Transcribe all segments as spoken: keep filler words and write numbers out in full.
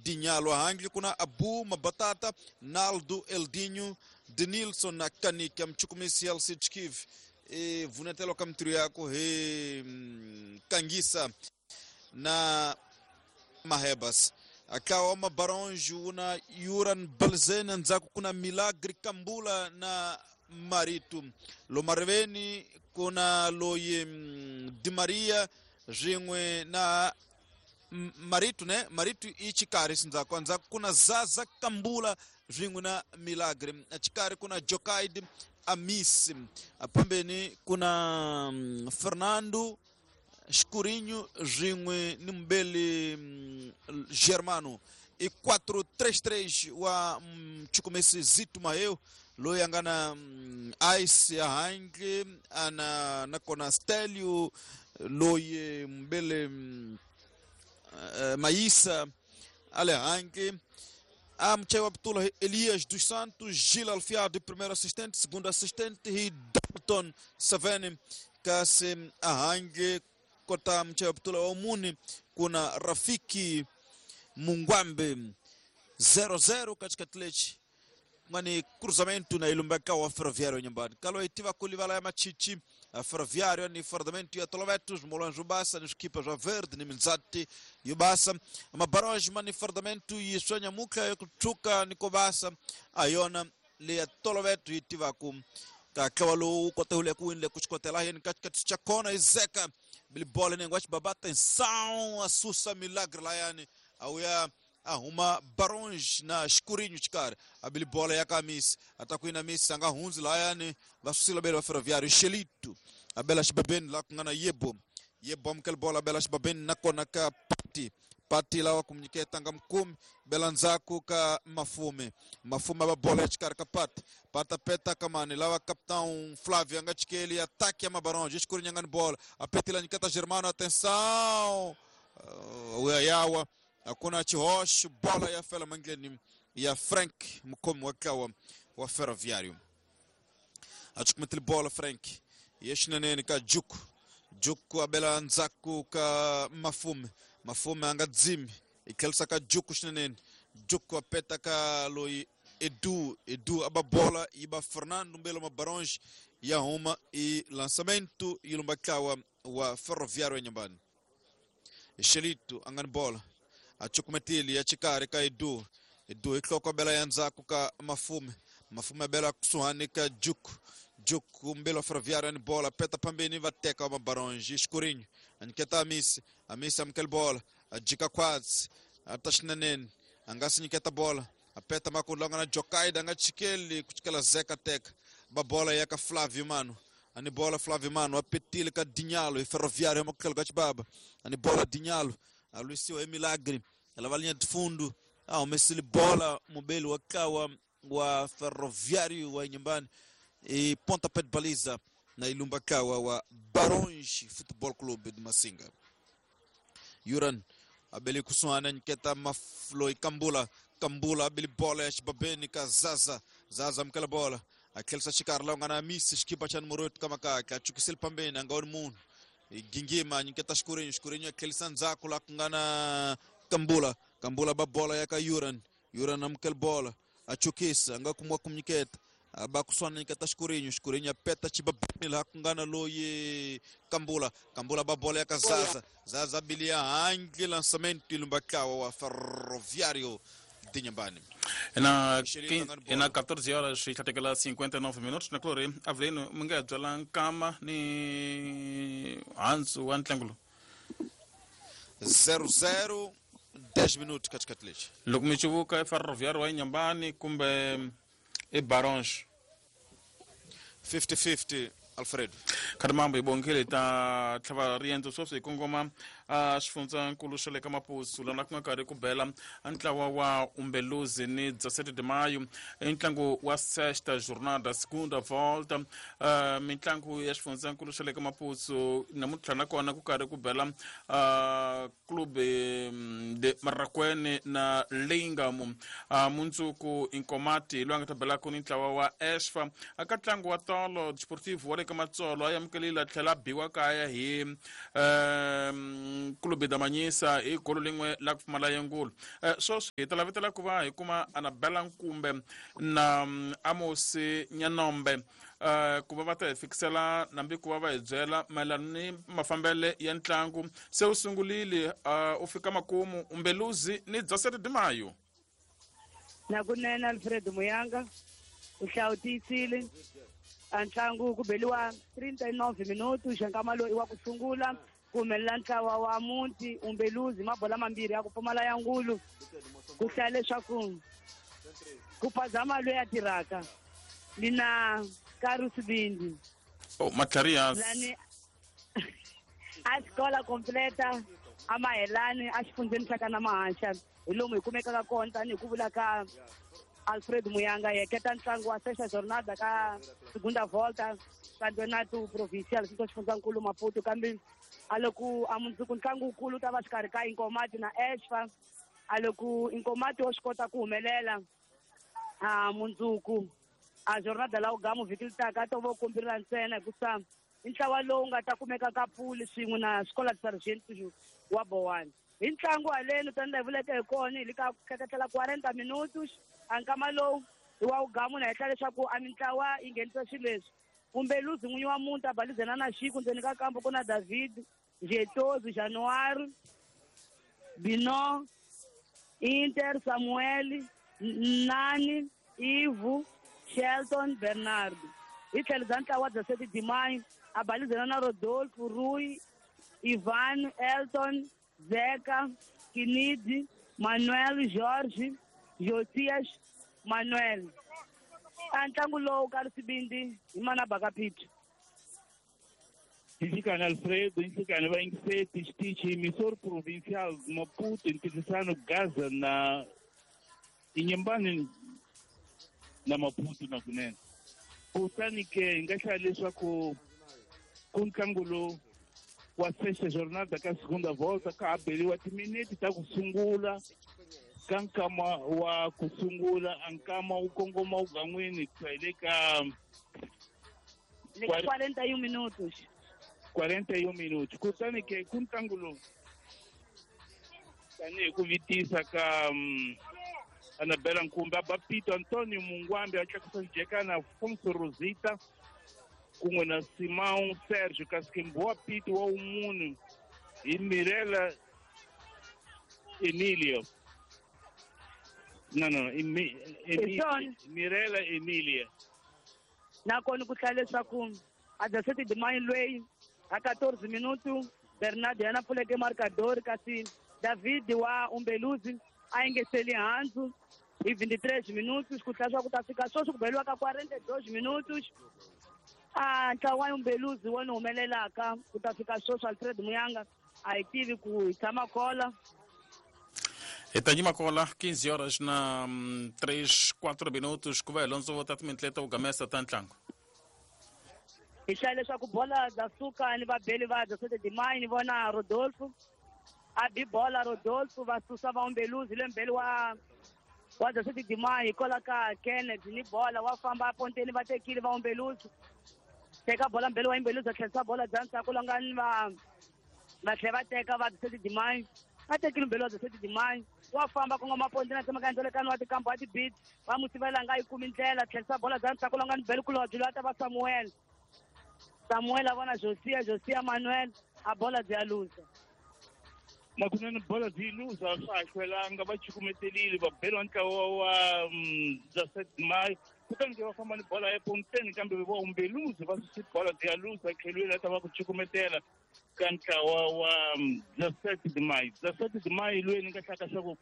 Dinyalo. Handle kuna Abu Mabatata, Naldo Eldinho, Denilson na Kanika mchukumisi Alcide Kiv e vunetelo kamtru yako he Kangisa na Mahebas. Akawa Mabaronjo una Yuran Balzena nzaku kuna Milagre Kambula na Maritu Lomarveni kuna Loye Di Maria Jingwe na Maritu ne Maritu ichikari sinzako nzaku kuna Zaza Kambula Jingwe na Milagre chikari kuna Jokaid Amis pambeni kuna Fernando Escurinho Jingwe Nimbele Germano e quatro três três wa mchukumesi Zito Maeu loyangana Ice Ahange ana nakona Stelio loye Mbele uh, Maísa Alehange Amchewa Abdullah Elias dos Santos Gil Alfiado primeiro assistente, segundo assistente e Dalton Savene Kasim Ahange kota Mchewa Abdullah Omuni kuna Rafiki Mungwambe zero zero katika tlechi ngani cruzamento na ilumbeka wa Ferroviário nyumbani kalo itiva kulivala ya machichi a Ferroviário ni fardamento ya Tolovetos Molanjo Bassa ni equipa já verde ni Minzati yubasa mabaroj mani fardamento e sonha muka yokutuka ni kobasa ayona le ya Toloveto itiva kum kakawalo kota hule kuinle kuchikotela hen katika chakona izeka bilibole nengwa babata insão asusa milagre la yani auya arruma Barões na escurinho de cara a bilibola ya camisa atakuina misa anga hunzi la yani vasusila bela Ferroviário Xelito a bela xibabeni la kungana yebo yebo amkel bola bela xibabeni nakona ka pati pati la wakumnyiketa nga mkumi bela nzaku ka mafume mafume ba bola de cara ka pati pata peta kamani lawa capitão Flávio anga chikeli ataque a Mabarões escurinho ngani bola a petila nyiketa Germano atenção uh, uyayawa akuna Chiroche bola ya fela mangleni ya Frank mkomo wakawa wa Ferroviário achukumetele bola Frank yeshinaneni ka Juku Juku abela nzaku ka Mafume Mafume anga dzimi ikelsa ka Juku shinaneni Juku apeta ka loi Edu Edu aba bola iba Fernando Mbelo Mabaronge ya huma e lançamento ilumbakawa wa Ferroviário nyumbani Xelito angani bola achukumetili ya chikari ka Edu Edu ikloko bela yanzaku ka Mafume Mafume bela kusuhani ka Juku Juku Mbelo Ferroviário ni bola peta pambeni vateka wa Mabaronge escurinho aniketa Amisi Amisi amkel bola ajika kwazi atashinaneni angasi niketa bola apeta makulonga na Jokaida anga chikeli kuchikela zeka teka babola yaka Flávio mano ani bola Flávio mano apetile ka Dinhalo e Ferroviário makel gachibaba ani bola Dinhalo a Lucio é milagre ela vai linha de fundo ah o Messi bola mobile wakawa wa Ferroviário wa nyumbani e pontapé de baliza na Ilumbakawa wa Barões Futebol Clube de Massinga. Yuran abeli kusuana nketa mafloi Kambula Kambula abeli bola ya Babeni ka Zaza Zaza mkala bola akelsa chikarla ngana misi skipa chan morot kama ka achukisel pambeni angaon mun gingima nketa shkurinho shkurinho akelsa nzako la ngana Kambula Kambula ba bola ya ka Yuran Yuran amkel bola achukisa ngakumwa kumnyiketa abakuswana nikata shkurinho shkurinho peta chibabeni la kungana loye Kambula Kambula babola ya kazaza Zaza bilia angi lançamento ilumbakawa wa Ferroviário de Inhambane. Na, na catorze horas e cinquenta e nove minutos na Clore Avelino Mungadzo la Nkama ni Hansu wa Ntlangulu zero zero dez minutos katikati lechi loko mi chivuka Ferroviário wa Inhambane kumbe e Barões fifty fifty Alfredo Kadamambo ibongele ta tlhava riendzo sweswi hi kongoma a xifundzankulu xa le ka Maputo lana ku nga karhi ku bela ntlawa wa Umbeluzi ni dezessete de maio i ntlangu wa sexta jornada segunda volta uh, mintlangu ya xifundzankulu xa le ka Maputo namuntlha nakona ku karhi ku bela uh, clube de Marracuene na Lingam uh, mundzuku Inkomati loyi a nga ta belaka ni ntlawa wa Esfa aka ntlangu wa tolo Desportivo wa le ka Matsolo a amukelile a tlhela a biwa kaya hi um, Clube da Manhisa hi golo lin'we la ku pfumala yengulu. Sweswi hi ta lavetela ku va hi kuma Anabela Nkumbe na Amos Nyanombe ku va va ta hi fikisela nambi ku va va hi byela mayelana ni mafambele ya ntlangu se wu sungulile u fika makumu Umbeluzi ni Dezessete de Maio. Nakunene Alfred Muyanga u hlawutisile a ntlangu ku beliwa trinta e nove minutos nkama loyi wa ku sungula ku humelela ntlawa wa muti Umbeluzi mabola mambirhi ya ku pfumala ya ngulu ku hlaya leswaku ku phazama loyi a tirhaka ni na Carlos Bindi. Oh, Macarias. Lani a xikola completa a Mahelani a xifundzeni xa ka na Mahaxa hi lomu hi kumekaka kona tanihi ku vula ka Alfred Muyanga yeketa ntlangu wa sexta jornada ka segunda volta campeonato provincial xi xifundzankulu Maputo kambe a loko a mundzuku ntlangu wukulu ta va xikarhi ka Inkomati na Esfa a loko Inkomati wo swi kota ku humelela a mundzuku a jornada la ugamu vhiki leri taka to vo kombirila ntsena hikusa i ntlawa lowu nga ta kumeka ka puli swin'we na Escola de Sargento wa Bowane. Hi ntlangu haleni tanihi hi vuleke hi kona hi le ka tleketlela quarenta minutos a nkama lowu hi wa ugamu na henhla leswaku a mintlawa yi nghenisa swilo leswi Umbeluzi n'winyi wa muti a balizana na Xiku ndzeni ka kampo ku na David Jetozi January Bino Inter Samuel Nani Ivu Shelton Bernardo hi tlhelo bya ntlawa Dezessete de Maio a balizana na Rodolfo Rui Ivan Elton Zeka Kinidi Manuel Jorge Josias Manuel. A ntlangu lowu ka Sibindi hi mana Bakapito. Nhlikani Alfredo, nhlikani va yingiseti xitichi emissor provincial Maputo ntirhisano Gaza na Inhambane na Maputo na kunene. Kutani ke hi nga hlaya leswaku ku ntlangu lowu wa sexta jornada ka segunda volta ka ha beriwa timinete ta ku sungula ka nkama wa ku sungula a nkama wu kongoma wu gan'wini ku ya hi le ka le ka quarenta e um minutos. quarenta e um minutos. Kutani ke ku ntlangu lowu tanihi ku vitisa ka um, Anabela Nkumbe a ba Pito Antonio Mungwambi a tlakusa xijekana Afonso Rosita kun'we na Simão Sérgio kasi ke Mbowa Pito wa wumunhu hi Mirela Emilio. No, no, Emi, Emi, Mirela Emilia. Nakona ku hlaya leswaku a Dezessete de Maio loyi a quatorze minutos Bernardo yena pfuleke marcador kasi David wa Umbeluzi a engeseli handzu hi vinte e três minutos ku hlaya swa ku ta fika sweswi ku beliwa ka quarenta e dois minutos a ntlawa wa Umbeluzi wona humelelaka ku ta fika sweswi Alfred Muyanga a hi tivi ku hi tshama kola. Hi ta yima kola quinze horas na três quatro minutos ku va hi londzo ta timintleta u gamesa ta ntlangu. Hi hlaya leswaku bola dza suka ni vabeli va Dezessete de Maio ni vona Rodolfo a bi bola Rodolfo va susa va Umbeluzi le mbeli wa wa Dezessete de Maio hikwalaho ka Kennedy ni bola wa famba a ponteni va tekile va Umbeluzi teka bola mbeli wa Umbeluzi a tlherisa bola bya ndzhaku la nga ni va va tlhela va teka va Dezessete de Maio a tekile mbeli wa Dezessete de Maio wa famba kongoma ponteni a tsemaka ndzelekani wa tikambu wa tibiti va n'wi sivela nga yi kumi ndlela tlherisa bola bya ndzhaku la nga ni beli kulobye loyi a ta va Samuel Samuel a vona Josia Josia Manuel a bola byi ya luza. Nakunene bola byi luza swa ha hlwelanga va chukumetelile va beriwa ntlawa wa Dezessete de Maio kutani ke va famba ni bola eponteni kambe va Umbeluzi va susi bola byi ya luza tlhelweni a ta va ku chukumetela ka ntlawa wa Dezessete de Maio. Dezessete de Maio loyi ni nga hlaka swa ku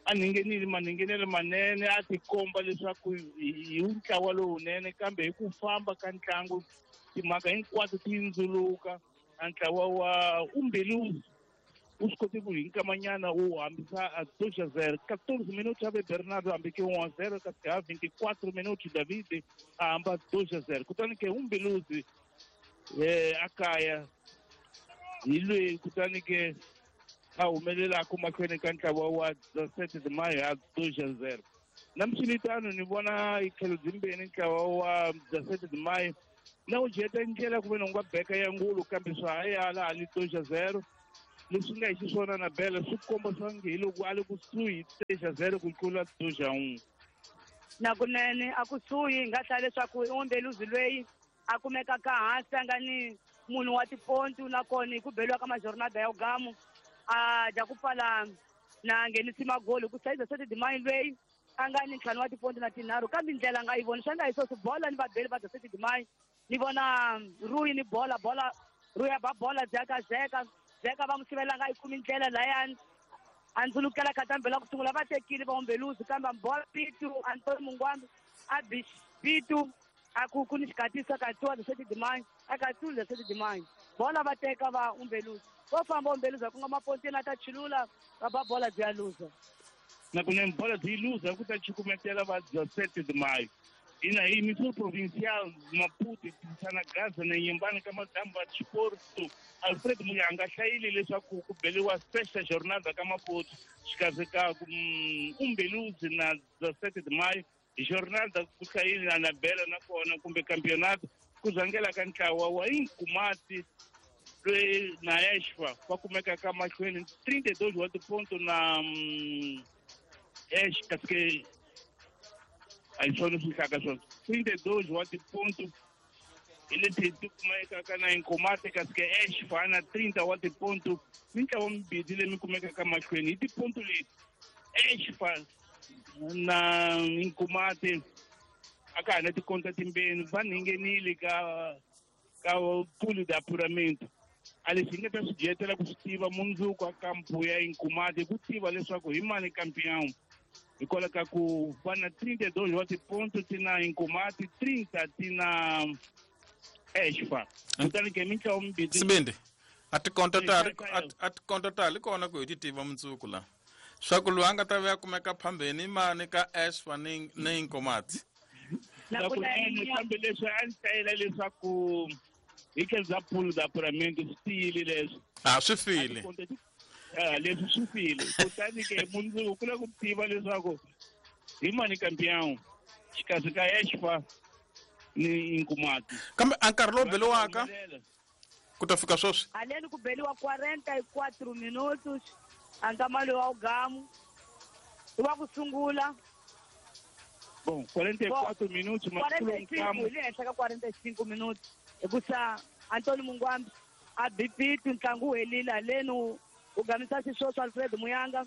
a ninghenile maninghenelo manene a tikomba leswaku hi ntlawa lowunene kambe hi ku famba ka ntlangu timhaka hinkwato ti ndzuluka a ntlawa wa Umbeluzi u swi kote ku hi nkamanyana wu hambisa a dois a zero quatorze minutos ave Bernardo hambeke um a zero kasi ha vinte e quatro minutos David a hamba dois a zero kutani ke Umbeluzi eh a kaya hi loyi kutani ke a humelelaka mahlweni ka ntlawa wa Dezessete de Maio ha dois a zero na miswilitano ni vona hi tlhelo byimbeni ntlawa wa Dezessete de Maio na wu jeta ndlela ku ve ni nga beka ya ngulu kambe swa ha ya laha ni dois a zero Leswi nga hi xiswona na Bela swi komba swange hi loko a le kusuhi três a zero ku tlula dois a um. Nakunene a kusuhi hi nga hlaya leswaku i Umbeluzi loyi a kumekaka hansi a nga ni munhu wa tipontu, nakona hi ku beliwa ka majornada ya ugamu a dya ku pfala na nghenisi magoli ku sayiza sete dimayi loyi a nga ni ntlhanu wa tipontu na tinharhu, kambe ndlela nga yi voni swa nga hi sweswi bola ni vabeli va sete dimayi ni vona Ruyi ni bola bola Ruyi a ba bola dzeka zeka zeka va n'wi sivela nga yi kumi ndlela layani a ndzulukela khatambela ku sungula va tekile va Umbeluzi, kambe bola Pitu Antoni Mungwambi a bi Pitu a ku ku ni xikatiso katsiwa sete dimayi a katsiwile sete dimayi bola va teka va Umbeluzi vo famba Umbeluzi ku nga mapontini a ta chulula va ba bola byi ya luza. Nakunene bola byi luza ku ta chukumetela va sete de maio. Ina hi Missão Provincial Maputo tirhisana Gaza na Inhambane ka madambu ya Desporto Alfred Muyanga hlayile leswaku ku beliwa sexta jornada ka Maputo xikarhi ka Umbeluzi na sete de maio. Jornada ku hlayile na Bela nakona kumbe campeonato ku zangela ka ntlawa wa Inkumati loyi na Exfa va kumeka ka mahlweni trinta e dois wa tiponto na Ex kasi ke a hi swona swi hlaka swona trinta e dois wa tiponto hi leti ti kumekaka na Inkomati kasi ke Exfa na trinta wa tiponto mintlawa mimbirhi leyi mi kumekaka mahlweni hi tiponto leti Exfa na Inkomati a ka ha na tikonta timbeni va nghenile ka ka pool de apuramento. A leswi hi nga ta swi dyetela ku swi tiva mundzuku a kampu ya Inkomati ku tiva leswaku hi mani campeão hikwalaho ka ku va na trinta e dois wa tiponto ti na Inkomati trinta ti na Exfa. Kutani ke mintlawa mimbirhi Sibindi a tikonta ta a tikonta ta li kona ku hi ti tiva mundzuku la swa ku loyi a nga ta vuya kumeka phambeni mani ka Exfa ni ni Inkomati. Nakunene kambe leswi a ndzi hlayela leswaku hi tlhelo bya pool de apuramento swi tiyile leswi a swi file leswi swi file. Kutani ke mundzuku ku lava ku tiva leswaku hi mani campeão xikarhi ka Exfa ni Inkomati. Kambe a nkarhi lowu beliwaka ku ta fika sweswi haleni ku beliwa quarenta e quatro minutos a nkama lowu wa ugamu i wa ku sungula. Bom, quarenta e quatro minutos, mas quarenta e cinco, le henhla ka quarenta e cinco minutos hikusa Antoni Mungwambi a bipiti ntlangu wu helile haleni u gamisa xisweswo Alfred Muyanga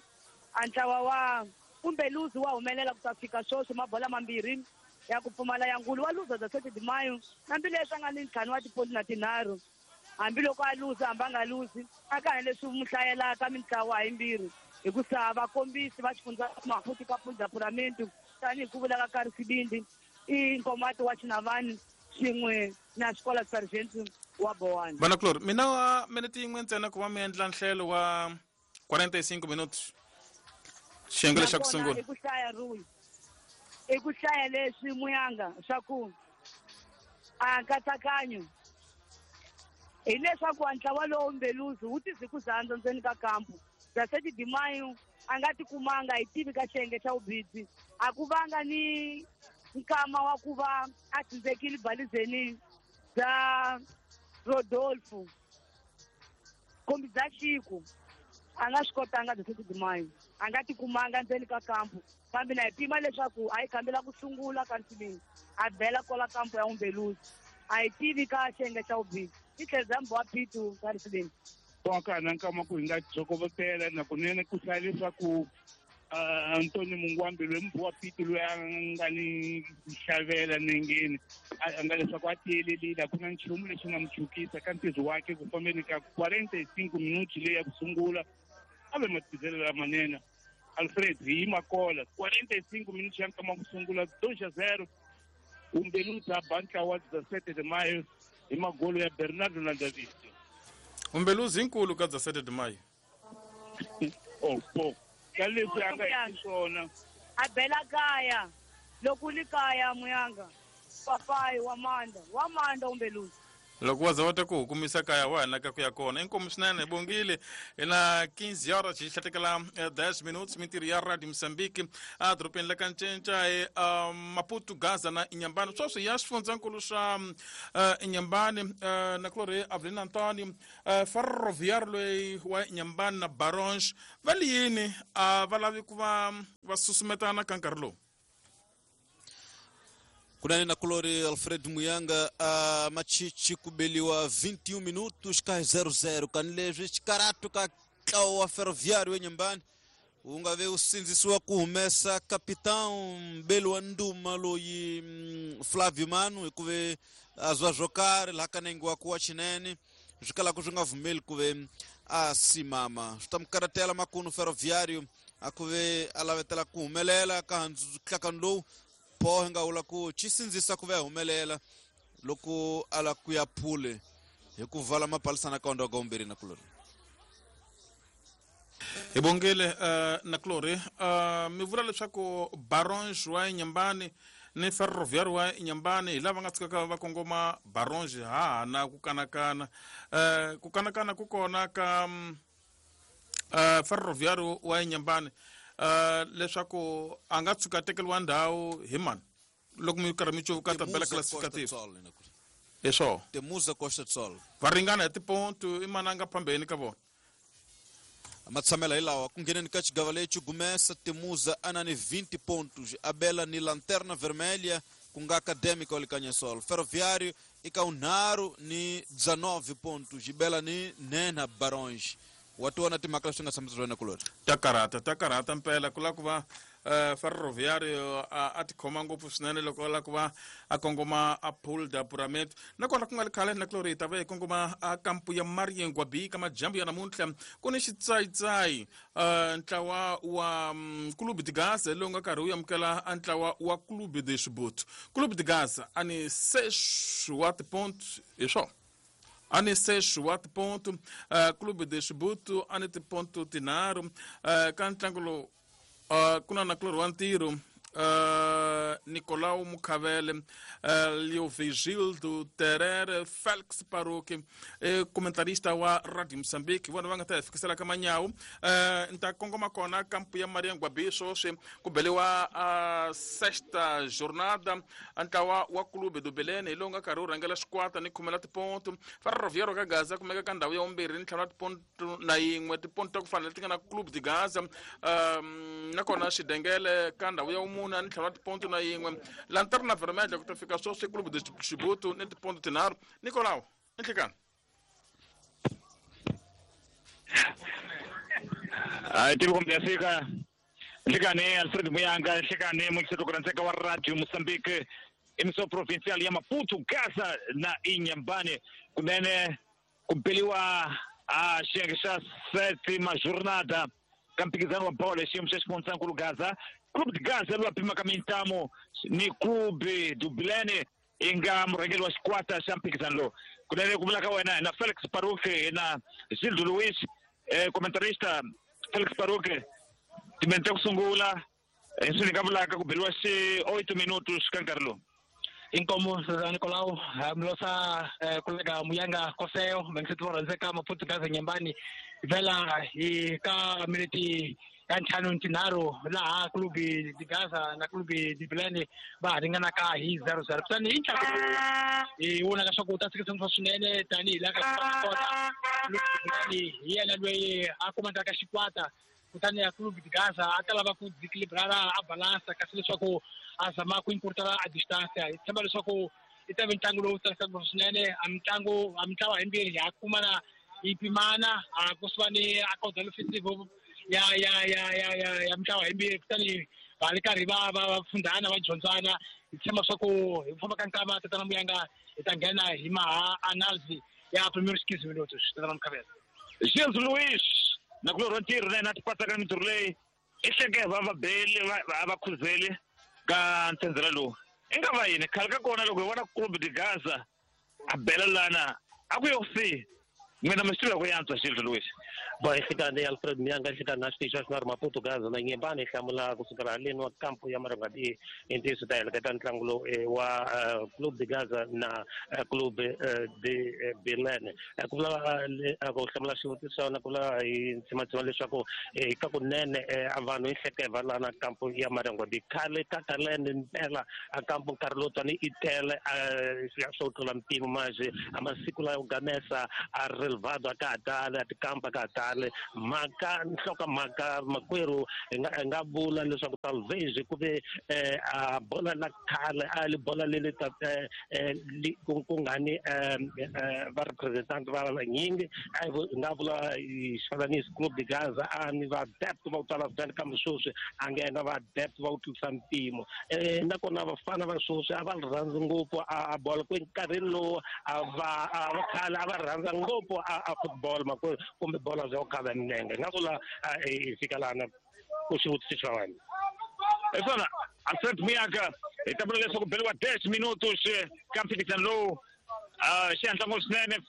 a ntlawa wa Umbeluzi wa humelela ku ta fika sweswi mabola mambirhi ya ku pfumala ya ngulu wa luza za sete de maio hambileswi a nga ni ntlhanu wa tiponti na tinharhu hambiloko a luza hambi a nga luzi a ka ha leswi mu hlayelaka mintlawa yimbirhi hikusa vakombisi va xifundza Maputo ka pool de apuramento tanihi ku vula ka Kari Sibindi i Nkomati wa Xinavani swin'we na Xikola Sargent wa Bowani. Vana Clori, mina wa minete yin'we ntsena ku va mi endla nhlelo wa quarenta e cinco minutos xiyenge lexa ku sungula. I ku hlaya Ruyi i ku hlaya leswi Muyanga swa ku a nkatsakanyo hileswaku ntlawa lowu Umbeluzi wu tizikuzandza ndzeni ka kampu bya sete de maio a nga tikumanga hi tivi ka xiyenge xa vubidzi a ku vanga ni nkama wa ku va a tsindzekile balizeni bya Rodolfo kumbe bya Xiku a nga swi kotanga bya sete de maio a nga tikumanga ndzeni ka kampu kambe na hi pima leswaku a yi kambela ku sungula ka nsimini a bela kwala kampu ya Umbeluzi a hi tivi ka xiyenge xa vubidzi i tlhelo bya Mbwa Pitu ka Risibini. Ka na nkama ku hi nga jokovotela nakunene ku hlaya leswaku Antoni Mungwambi loyi Mbwa Pitu loyi a nga ni xavela nengeni a nga leswaku a tiyelelile a ku na nchumu lexi nga mu chukisa ka ntirho wakhe ku fambeni ka quarenta e cinco minutos leyi ya ku sungula a ve matizelo lamanene Alfred hi yima kola quarenta e cinco minutos ya nkama ku sungula dois a zero Umbeluzi a ba ntlawa dezessete de maio hi magolo ya Bernardo na David. Umbeluzi inkulu ka dezessete de maio. Oh, bo. Ka leswi a nga hi swona. A bela kaya loko li kaya Muyanga papai wa Manda wa Manda Umbeluzi. Loko wa za wa ta ku kumisa kaya wa hina ka ku ya kona. Inkomu swinene bongile na quinze horas xi hlatekela dez minutos mintirho ya Radio Mozambique a dorobeni la ka Ncinca e Maputo Gaza na Inhambane. Sweswi ya xifundzankulu xa Inhambane na kulorhi Avelino Antonio Ferroviário loyi wa Inhambane na Barões va li yini a va lavi ku va va susumetana ka nkarhi lowu. Kunani na kulori Alfred Muyanga a machichi kubeliwa vinte e um minutos ka zero zero kanilezwi xikaratu ka ntlawa wa Ferroviário eNyambani wu nga ve wu sindzisiwa ku humesa capitão Mbeli wa Nduma loyi Flavio Mano hikuva a zwa swo karhi laha ka nenge wa ku wa xinene swi kalaka swi nga vumeli ku ve a simama swi ta mi karatela makunu Ferroviário a ku ve a lavetela ku humelela ka ntlakano lowu po hi nga vula ku xi sindzisa ku va humelela loko a la ku ya phule hi ku vala mapalisana ka ondoga umbirhi na kulori. Hi bongile uh, na kulori uh, mi vula leswaku Barões wa Inhambane ni Ferroviário wa Inhambane hi lava nga tshikaka va kongoma Barões ha na ku kanakana uh, ku kanakana ku kona ka uh, Ferroviário wa Inhambane Uh, leswaku a nga tshuka tekeriwa ndhawu hi mani loko mi karhi mi cuvuka tabela classificative hi swona Temuza Costa do Sol va ringana hi tiponto i mani a nga phambeni ka vona matshamela hi lawa ku ngheneni ka xigava lexi gumesa Temuza a na ni vinte pontos Abela ni Lanterna Vermelha ku nga Académica wa Likanyasol Ferroviário i ka unharhu ni dezenove pontos Ibela ni nhenha Barões. Wa tiwona timhaka leswi nga tshamisa wena kulori ta karhata ta karhata mpela ku lava ku va Ferroviário a tikhoma ngopfu swinene loko a lava ku va a kongoma a pool da Pyramid nakona ku nga ri khale na kulori hi ta va hi kongoma a kampu ya Mariengwa B ka madyambu ya namuntlha ku ni xitsayitsayi ntlawa wa Clube de Gaza lowu nga karhi wu amukela a ntlawa wa Clube de Chibuto. Clube de Gaza a ni seis wa tiponto hi swona a ni seis wa tiponto uh, Clube de Chibuto a ni tiponto tinharhu uh, ka ntlangu lowu uh, ku na na kulorhi wa ntirho uh, Nicolau Mukhavele uh, Leovigildo Terere Felix Paroque eh, comentarista wa Radio Mozambique vona va nga ta hi fikisela ka manyawu uh, ni ta kongoma kona kampu ya Mariangwa B sweswi ku beliwa uh, sexta jornada ntlawa wa Clube do Belém hi lowu nga karhi wu rhangela xikwata ni khumela tiponto Ferroviário ka Gaza kumeka ka ndhawu ya vumbirhi ni ntlhanu wa tiponto na yin'we tiponto ta ku fana leti nga na Clube de Gaza um, nakona Xidengele ka ndhawu ya vumune ni ntlhanu wa tiponto na yin'we Lanterna Vermelha ku ta fika sweswi Clube de Chibuto ni tiponto tinharhu. Nicolau nhlikani hayi tivi kumbe ya fika nhlikani Alfred Muyanga nhlikani muxitokurantseka wa Radio Mozambique emissão provincial ya Maputo Gaza na Inhambane kunene ku beliwa a xiyenge xa sétima jornada ka mphikizano wa bolo xiyimo xa xifundzankulu Gaza. Clube de Gaza lowu pimaka mintamo ni Clube do Belém i nga murhangeri wa xikwata xa mphikizano lowu kunene ku vula ka wena na Felix Paroque na Gildo Luis eh, comentarista Felix Paroque timente ku sungula leswi ni nga vulaka ku beliwa xi oito minutos ka nkarhi lowu. Inkomo Nicolau mlosa kolega Muyanga Koseo mengisethi va Maputo Gaza Nyambani vela hi ka miniti ya ntlhanu ntinharhu laha Clube de Gaza na Clube de Belém va ringanaka hi zero zero kutani hi ntlangu hi vona leswaku wu ta tshikisa swinene tanihi laha ka kona Clube de Belém hi yena loyi a kumandaka xikwata kutani ya Clube de Gaza a ta lava ku desequilibrar a balansa kasi leswaku a zama ku encurtar a distância hi tshemba leswaku i ta ve ntlangu lowu tsakisaka swinene a mitlangu a mitlawa himbirhi ya kumana yi pimana a kusuva ni a caudal offensive ya ya ya ya ya ya mitlawa himbirhi kutani va ri karhi va va va fundana va dyondzana hi tshemba swa ku hi ku famba ka nkama tatana Muyanga hi ta nghena hi maha analysis ya primeiros quinze minutos tatana Mukhavela. Gilles Luis na kulorhi wa ntirho na yena a tipatsaka mintirho leyi i hleke va va beli va va khuzeli ka ntsendzela lowu i nga va yini khale ka kona loko hi vona Clube de Gaza a bela lana a ku yo si N'wina mi swi tiva ku yantswa Gildo Luis. Bom, nhlikani Alfred Muyanga nhlikani na xitichi xa xinharhu Maputo Gaza na Nyembani hlamula kusukela haleni wa kampo ya Marangadi i ntiyiso ta heleketa ntlangu lowu wa Clube de Gaza na Clube de Belém. Ku vula ku hlamula xivutiso xa wena ku vula hi ntsimatsima leswaku ka kunene a vanhu hi hlekeva laha na kampo ya Marangadi khale ka kalene mpela a kampo nkarhi lowu tani i tele swo tlula mpimo manje a masiku layo gamesa a relevado a ka ha tali a tikampa ka ha tali mhaka nhloko mhaka makwerhu hi nga hi nga vula leswaku talvez ku ve a bola la khale a li bola leli ta ku ku nga ni va representant va vanyingi a hi nga vula hi xifananisi Clube de Gaza a ni va depth va ku tala swinene kambe sweswi a nga na va depth va ku tlurisa mpimo nakona vafana va sweswi a va ri rhandzi ngopfu a bola ku nkarhini lowu a va a va khale a va rhandza ngopfu a football makwerhu kumbe bola bya ku khava milenge nga vula hi fika lana ku xivutiso xa wena. Hi swona Alfred Muyanga hi ta vula leswaku beriwa dez minutos ka mphikizano lowu xihatla ngopfu swinene.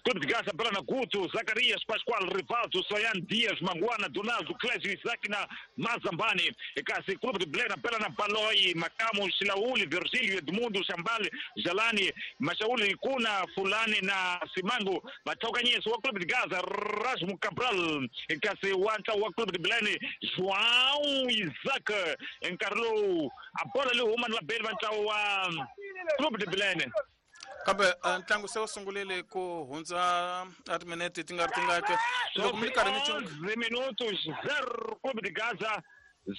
Clube de Gaza bela na Guto, Zacarias, Pascoal, Rivaldo, Soyan, Dias, Manguana, Donaldo, Clésio, Isaac na Mazambani. Kasi Clube de Belém bela na Baloi, Macamo, Silauli, Virgílio, Edmundo, Chambal, Jalani, Machauli, Kuna, Fulani na Simango. Mataukanyeso wa Clube de Gaza, Rasmo Cabral. Kasi Wanta wa Clube de Belém, João Isaac. Encarlou a bola ali, uma na Bela, wa Clube de Belém. Kambe ntlangu se wu sungulile ku hundza a timinete ti nga ri tingaki loko mi ri karhi mi onze minutos zero Clube de Gaza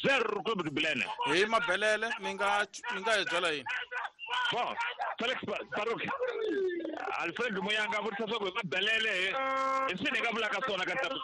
zero Clube de Belém. Hi mabelele mi nga mi nga hi byela yini? Bon, Felix Baruch Alfred Muyanga vutisa swa ku hi mabelele hi swini hi nga vulaka swona ka ntamu.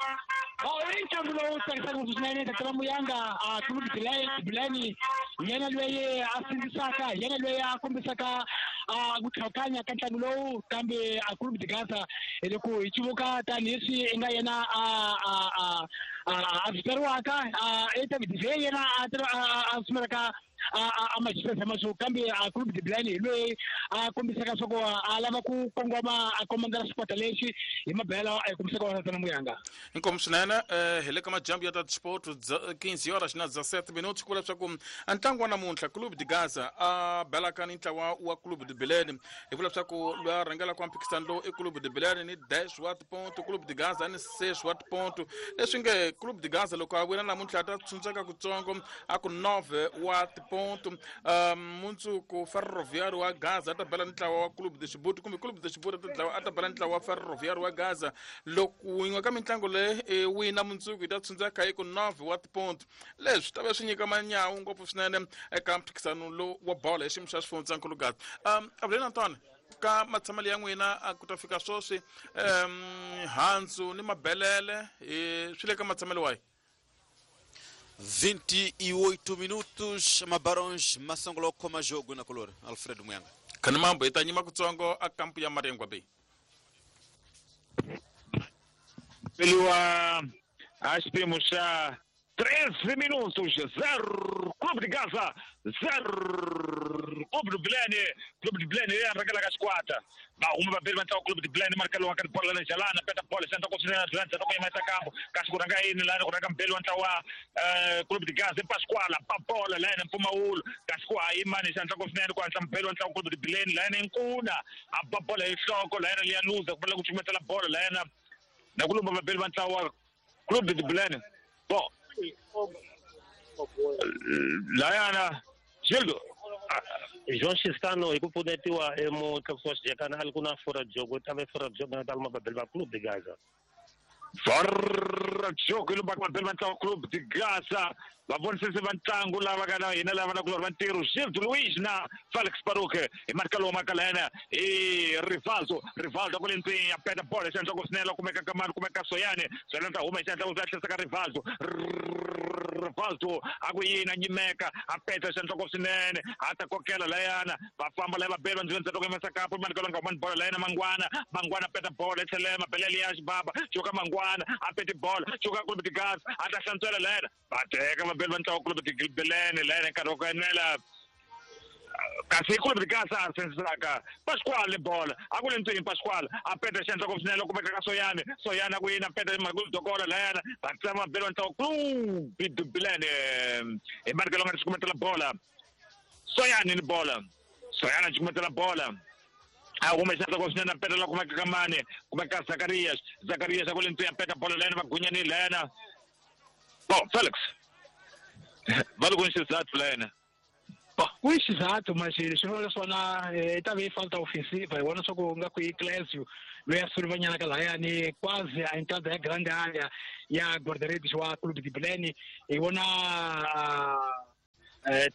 Oh, i ntlangu lowu tsakisaka ngopfu swinene Tata Muyanga a Clube de Belém hi yena loyi a sindzisaka hi yena loyi a kombisaka a ku tlhakanya ka ntlangu lowu kambe a Clube de Gaza hi loko hi civuka tanihileswi i nga yena a a a a viteriwaka a David Vey yena a a sumelaka a majisesa maswo kambe a Clube de Belém hi loyi a kombisaka swa ku a lava ku kongoma a komandela xikwata lexi hi mabela a kombisaka wona Tata Muyanga. Inkomu swinene hi le ka majambu ya ta sport quinze horas na dezessete minutos ku vula leswaku ntlangu wa namuntlha Clube de Gaza a belaka ni ntlawa wa Clube de Belém hi vula leswaku loyi a rhangelaka wa mphikizano lowu i Clube de Belém ni dez wa tiponto Clube de Gaza ni seis wa tiponto leswi nge Clube de Gaza loko a wina namuntlha a ta tshuntseka kutsongo a ku nove wa tiponto mundzuku Ferroviário wa Gaza a ta bela ntlawa wa Clube de Chibuti kumbe Clube de Chibuti a ta bela ntlawa wa Ferroviário wa Gaza loko yin'we ka mitlangu leyi wina mundzuku yi ta tshuntseka hi ku nove wa tiponto leswi ta va swi nyika manyawu ngopfu swinene eka mphikizano lowu wa bolo hi xiyimo xa xifundzankulu Gaza. Um avuleni Antoine ka matshamelo ya n'wina a ku ta fika sweswi um handzu ni mabelele swi le ka matshamelo wahi? vinte e oito minutos Mabarões Masangolo koma jogo na color Alfredo Muyanga. Khani mambo hi ta nyima kutsongo a kampu ya Mariangwa Bay. Peliwa a xipimo xa treze minutos zero Clube de Gaza zero Clube de Belém. Clube de Belém ya rhangela ka xikwata va huma vabeli va ntlangu Clube de Belém markelo wa ka bola la Jalana peta bola xandla ku swinene Atlanta ku yima kampo kasi ku rhanga yini lani ku rhanga mbeli wa ntlangu wa Clube de Gaza Pascoal pa bola lani mpfumawulo kasi ku hayi mani xandla ku swinene ku hatla mbeli wa ntlangu Clube de Belém lani Nkuna a ba bola hi nhloko lani liya luza ku fanele ku cukumetela bola lani na ku lumba vabeli va ntlangu wa Clube de Belém. Bon layana Gildo João Chistano hi ku pfunetiwa emutlakusi wa xijekana a li ku na fora jogo ta ve fora jogo na taluma vabeli va Clube de Gaza. Fora jogo yi lumbaka vabeli va ntlangu Clube de Gaza va vonisisi va ntlangu lava nga na hina lava na kulori va ntirho Gildo Luis na Felix Baruch hi marka lowu maka layena i Rivaldo Rivaldo ku le ndzeni ya peta bola xandla ku swinene kumeka ka mani kumeka Soyane Soyane ta huma hi xandla ku tlherisa ka Rivaldo Rivaldo a ku yini a nyimeka a peta xandla ku swinene a ta kokela layana va famba laya vabeli va ndzeni ndzeni ku yimisa kapu mani ka nga humani bola layena Mangwana Mangwana peta bola tlhela mabelele ya xibaba xoka Mangwana a peti bola xoka Clube de Gaza a ta hlantswela layena va teka vabeli va ntlangu Clube de Belém layena nkarhi wa ku enela Kasi Clube de Gaza sensaka Pascoal bola akule ntwini Pascoal apeta xandla ku swinene loko kumeka ka Soyane Soyane ku yina peta Magulu Dokola layana va tsama belo ntlawa Clube de Bilene hi marke longa xikumetela bola Soyane ni bola Soyane xikumetela bola a hume xandla ku swinene peta loko kumeka ka mane kumeka Zacarias Zacarias akule ntwini peta bola layana va gunyani layana Bom Felix va loko xizathu layana Ku i xizathu mas xin'wana swona i ta ve yi falta ofensiva hi vona swa ku nga ku i Clésio loyi a suluvanyana ka lahayani quase a entrada ya grande área ya guarda-redes wa Clube de Bilene hi vona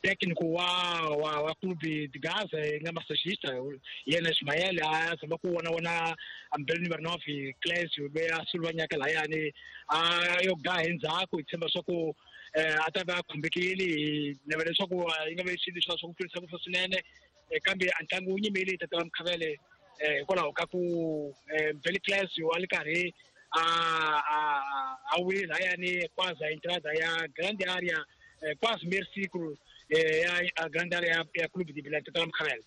técnico wa wa wa Clube de Gaza yi nga massagista yena Ismael a zama ku vona vona ambele numero nove Clésio loyi a suluvanyaka lahayani a yo ga hi ndzhaku hi tshemba swa ku a ta va a khumbekile hi navela leswaku yi nga ve xilo swa swa ku tlurisa ku swinene kambe a ntlangu wu nyimile tata wa Mkhavele hikwalaho ka ku Mbele Clésio a li karhi a a a wile lahayani quase a entrada ya grande área quase meio ciclo ya grande área ya Clube de Bilene tata wa Mkhavele.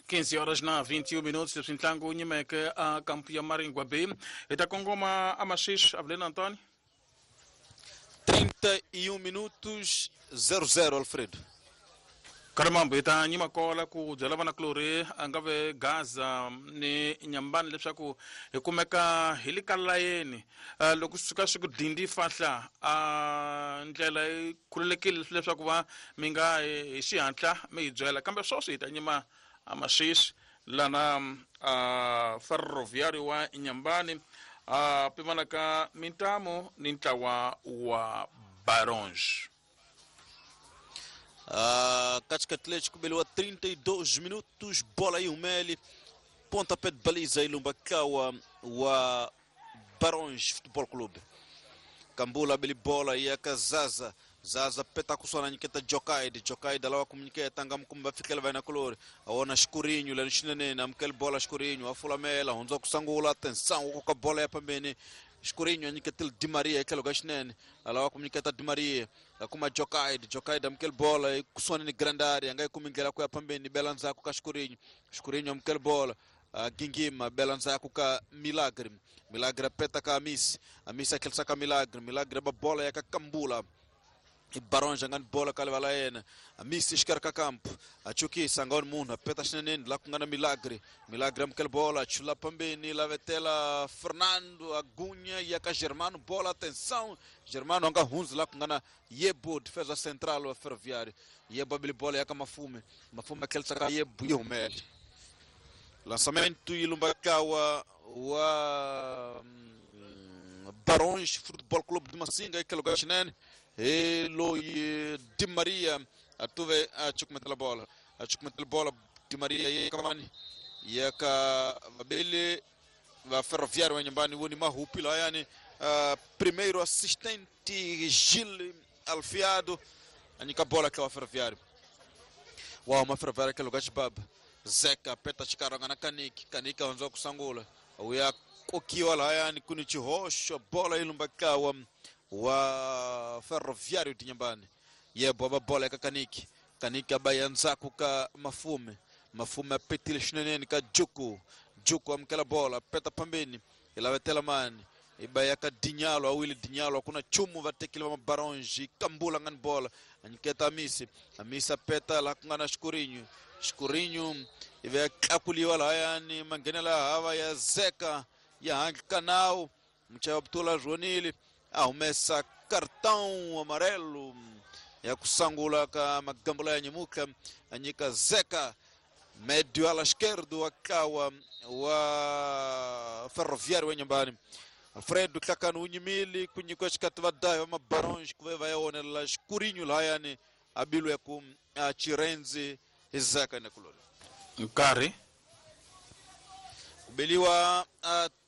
quinze horas na vinte e um minutos leswi ntlangu wu nyimeke a kampu ya Maringwa B hi ta kongoma a Maxixi Avelino Antônio. trinta e um minutos, zero zero, Alfredo. Karimambo hi ta nyima kola ku byela vanakulorhi a nga ve Gaza ni Nyambani leswaku hi kumeka hi le ka layeni loko swi suka swi ku dindi fahla a ndlela yi khululekile leswaku va mi nga hi xihatla mi hi byela kambe sweswi hi ta nyima a Maxixi lana a Ferroviário wa Nyambani a pimanaka mintamu ni ntlawa wa Barões. Uh, Cática Atlético beliwa trinta e dois minutos, bola aí o Meli, pontapé de baliza aí Lumbakawa wa Barões Futebol Clube. Kambula beli bola e a Zaza, Zaza peta kusona nyiketa Jokaide, Jokaide lawa kumnyiketa nga mkumba fikela vai na color, aona Escurinho lá no chinene, amkel bola Escurinho, afulamela, hunza kusangula, atenção, com a bola ya pambeni. Escurinho anyiketel Di Maria aquele gashnene alawa kumnyiketa Di Maria akuma Jokaide Jokaide amkel bola kusona ni grande área ngai kumingela kwa pambeni belanza ku ka Escurinho Escurinho amkel bola gingima belanza ku ka Milagre Milagre peta ka Amisi Amisi aquele saka Milagre Milagre ba bola ya ka Kambula Barões angani bola kale yena Amisi escarca campo achukisa ngoni munhu apeta xineneni la ku nga na Milagre Milagre amukela bola chula pambeni la vetela Fernando Agunha ya ka Germano bola atenção Germano anga hunzi la ku nga na Yebo defesa central wa Ferroviário Yebo abili bola ya ka Mafume Mafume aquele saka Yebo yumele lançamento ilumbakawa wa Barões Futebol Clube de Massinga aquele lugar xinene Eloi Di Maria atuve achukumetela bola achukumetela bola Di Maria ye kamani yaka babele va Ferroviário wa Nyambani woni mahupi la yani uh, primeiro assistente Gil Alfiado anyika bola kwa Ferroviário wa ma Ferroviário que lugar baba Zeca peta chikaranga na Kaniki Kaniki anzo kusangula uya kokiwa la yani kuni chihosho bola ilumbakawa wa Ferroviário de Nyambani yebo aba bola ka Kaniki Kaniki abayanza ka Mafume Mafume apetile xineneni ka Juku Juku amkela bola peta pambeni ilavetela mani ibaya ka Dinyalo awili Dinyalo kuna chumu vatekile va Mabaronji Kambula ngani bola anyiketa Amisi Amisi apeta la kungana Escurinho Escurinho ive kakuliwa la yani mangenela hava ya Zeca ya Hank Canal mchaya Abdullah Jonili arremessa cartão amarelo ya kusangula ka magambula ya nyimuka anyika Zeca médio ala esquerdo akawa wa Ferroviário wa Nyambani Alfredo kakanu unyimili kunyikwa xikati va Mabarões ku va ya onela Escurinho la yani abilu ya ku Chirenzi Zeca nekulori nkarhi kubeliwa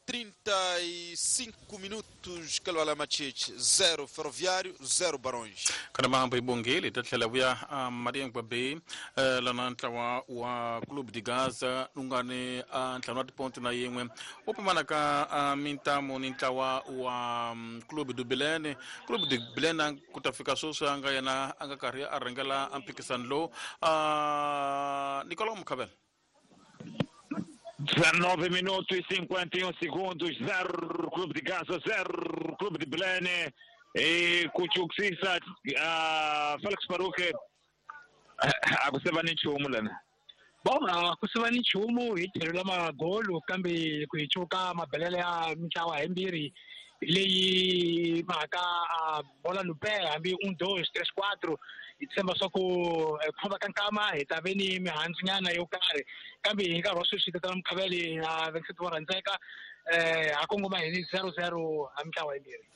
trinta e cinco minutos Kalwala Machiche zero Ferroviário zero Barões. Kana ibongeli tatlhela vuya Mariangwa Bay lana ntlawa wa Clube de Gaza lungane ntlhanu wa tiponto na yin'we wu pfumala ka mintamu ni ntlawa wa Clube do Bilene. Clube de Bilene ku ta fika sweswi a nga yena a nga karhi a rhangela mphikizano lowu. Nicolau Mukhabela. dezenove minutos e cinquenta e um segundos, zero Clube de Gaza, zero Clube de Bilene. E kuchukisisa uh, Felix Baruque akuseva ni nchumu lana. Bom, akuseva ni nchumu hi tlhelo la magolo kambe ku hi chuka mabelele ya mintlawa himbirhi leyi mhaka bola no pé hambi um dois três quatro hi tshemba swa ku ku famba ka nkama hi ta ve ni mihandzu nyana yo karhi kambe hi nkarhi wa sweswi tatana Mukhaveli na Vincent vo rhandzeka eh ha kongoma hi ni zero zero ha mintlawa yimbirhi.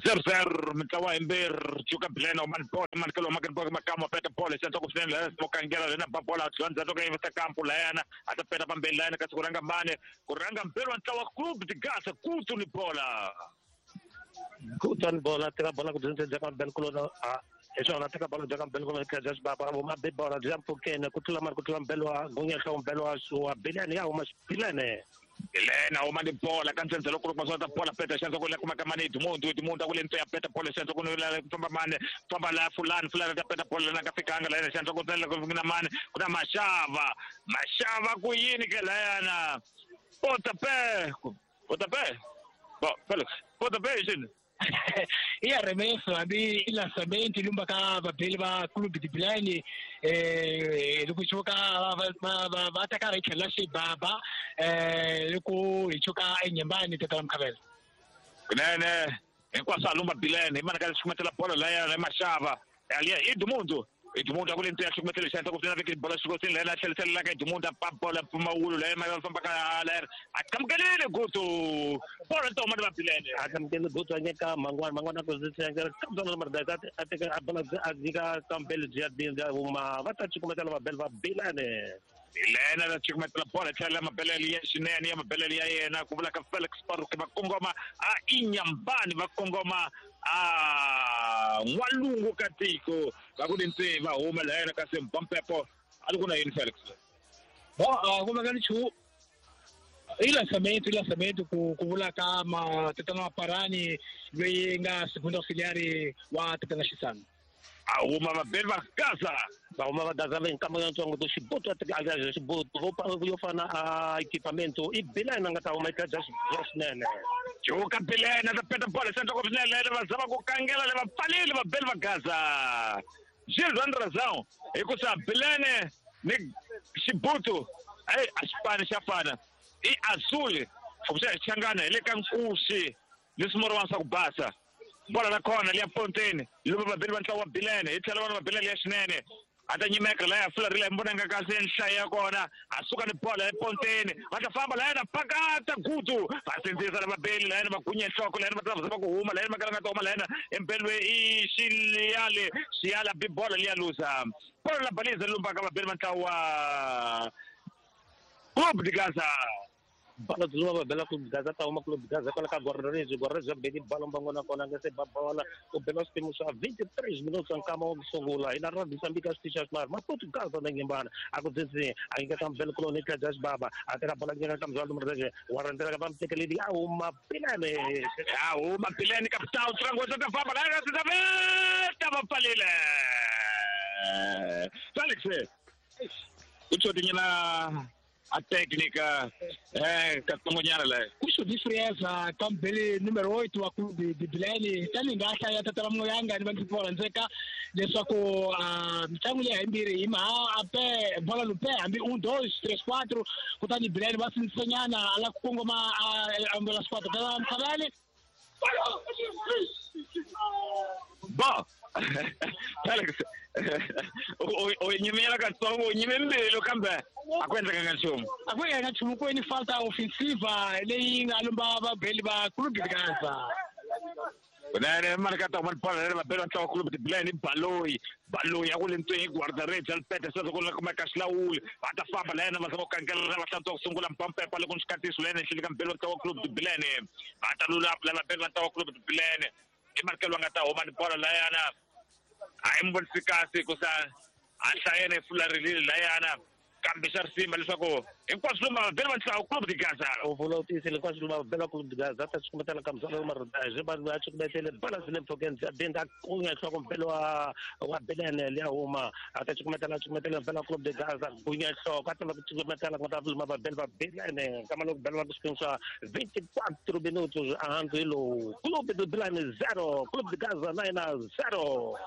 zero zero mintlawa yimbirhi Chuka Bilene o mani bola mani kelo makani bola makamo peta bola xantswa ku swinene la mokangela lena ba bola dzondza to ka yivisa kampo layana a ta peta pambeni layana kasi ku rhanga mane ku rhanga mbirhi wa ntlawa Clube de Gaza kutu ni bola kutu ni bola teka bola ku dzondza ka Ben Kulona a esona teka bola ka Ben Kulona ka just baba uma be bola jump kene ku tlula mari ku tlula mbelo wa gunya hlombe mbelo wa wa Bilene ya uma Bilene Elena uma ni bola kantsendze loko ku masota bola peta xanza ku la kuma kamane Edmundo Edmundo ku le ntse ya peta bola xanza ku la famba mane famba la fulani fulani ta peta bola na ka fikanga la xanza ku tsela ku na mane ku na mashava mashava ku yini ke layana pontapé pontapé bo Felix pontapé yini i arremesso hambi i lançamento lumba ka vabeli va Clube de Bilene eh loko hi chuka va va va ta karhi tlhela xibaba eh loko hi chuka enyembani tatana Mukhavela. Kunene hinkwaswo a lumba Bilene hi mana ka xikumetela bola laya ya mashava aliya Edmundo Edmundo akule nto ya xikumetela xanza ku veki bola xikosini laya tlhelisela ka Edmundo pa bola pumawulu laya ma famba ka laya a kamukelile gutu bola to mani va Bilene a kamukelile gutu a nyika mangwana mangwana ku zitsenga kambe na marda a teka a bola a nyika kambele bya dinda uma va ta xikumetela va bela va Bilene Bilene la xikumetela bola tlhela mabelele ya xinene ya mabelele ya yena ku vula ka Felix Baruque va kongoma a Inyambani va kongoma a n'walungu ka tiko va ku ntse va huma la yena kasi Mpampepo a li ku na yini Felix. Bo a ku veka nchumu i lançamento i lançamento ku ku vula ka ma tatana Maparani loyi nga segundo auxiliary wa tatana Xisana. A huma vabeli va Gaza va huma va Gaza va nkama yantsongo to xibuto a xibuto vo yo fana a equipamento i Bilene nga ta huma eka just swinene Chuka Bilene ta peta bola xanza ku swinene va zama ku kangela le va pfalile vabeli va Gaza Gilles Andrazão hi ku sa Bilene ni xibuto ai a xipani xa fana i azul fuxa xangana hi le ka nkuxi ni swimorwana swa ku basa bola la khona liya ponteni loko vabeli va ntlawa wa Bilene hi tlhela vana va Bilene ya xinene a ta nyimeka laya fularile mbona nga kahle nhlayo ya kona a suka ni bola eponteni va ta famba layena pakata gutu va sindzisa la vabeli layena va gunya nhloko layena va ta va ku huma layena va kala nga ta huma layena empelwe i xiyale xiyala bi bola liya luza bola la baliza lumba ka vabeli va ntlawa Clube de Gaza. Bola dzuluma va bela Clube de Gaza ta huma Clube de Gaza kwala ka Guararezi Guararezi beli bola mbangona kona nga se ba bola ku bela swipimo swa vinte e três minutos nkama wa ku sungula hi na ra Moçambique xitichi xa xinharhu Maputo Gaza na Nyembana a ku dzidzi a nyika ka mbele kuloni ka Judge Baba a teka bola nyika ka Mzwalo Mreze wa rhandzela ka va a huma Bilene a huma Bilene capitão Trangosa ta famba la ta veta va pfalile Felix u xotinyana a técnica eh katsongonyana la kuxo de frieza kambele número oito wa Clube de Bilene tani nga hlaya tatana Muyanga ni va ndzi rhandzeka leswaku mitlangu leyi hayimbirhi hi maha a pe bola no pé hambi um dois três quatro kutani Bilene va sindzisanyana a la ku kongoma a ambela squadra tata Mkhavele. Bo Felix o nyimela katsongo u nyime mbilu kambe a ku endlekanga nchumu a ku endlekanga nchumu ku ni falta ofensiva leyi nga lumba vabeli va Clube de Gaza. Kunene malikata wa bola leri vabeli va ntlawa Clube de Bilene Baloyi Baloyi a ku le ntsweni guarda-redes Alpete sweswo ku kuma ka xilawuli va ta famba la yena va zama ku kangela va hlantswa ku sungula mpampepa loko ni xikatiso la yena ehenhleni ka mbeli wa ntlawa Clube de Bilene va ta lula la vabeli va ntlawa Clube de Bilene i malikelo va nga ta huma ni bola la yana a yi mi vonisi kahle hikusa a hlayena yi fularilile la yana kambe xa risima leswaku hinkwaswo lomu vabeli va ntlawa Clube de Gaza u vula u tiyisile hinkwaswo lomu vabeli va Clube de Gaza ta cukumetela ka muzala marodaje va va cukumetele bola zile mpfhukeni bya binda kunya nhloko mbele wa wa Bilene liya huma a ta cukumetela cukumetela mbele wa Clube de Gaza kunya nhloko a ta va ku cukumetela ku ta luma vabeli va Bilene kama loko bela va ku xiphemu swa vinte e quatro minutos a hansi hi lowu Clube de Bilene zero Clube de Gaza na yena zero.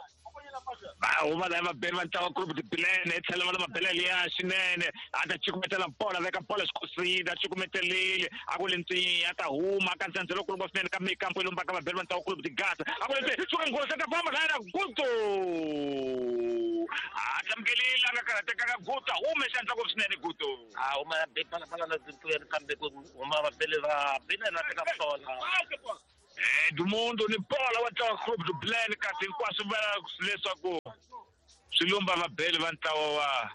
Va huma la vabeli va ntlawa Clube de Bilene i tlhela va la mabele liya xinene a ta cukumetela bola veka bola xikosini a cukumetelile a ku le ntsini a ta huma ka ndzhendzelo kulumba swinene ka mikampo yi lumbaka vabeli va ntlawa Clube de Gaza a ku le ntsini suka nghozi a ta famba la yena Guto a tlamukelile a nga karhatekanga Guto a hume xandla ngopfu swinene Guto a huma be bala bala la ntuyeni kambe ku huma vabeli va Bilene va teka bola Edmundo ni bola wa ntlawa Clube de Bilene kasi hinkwaswo va leswaku swi lumba vabeli va ntlawa wa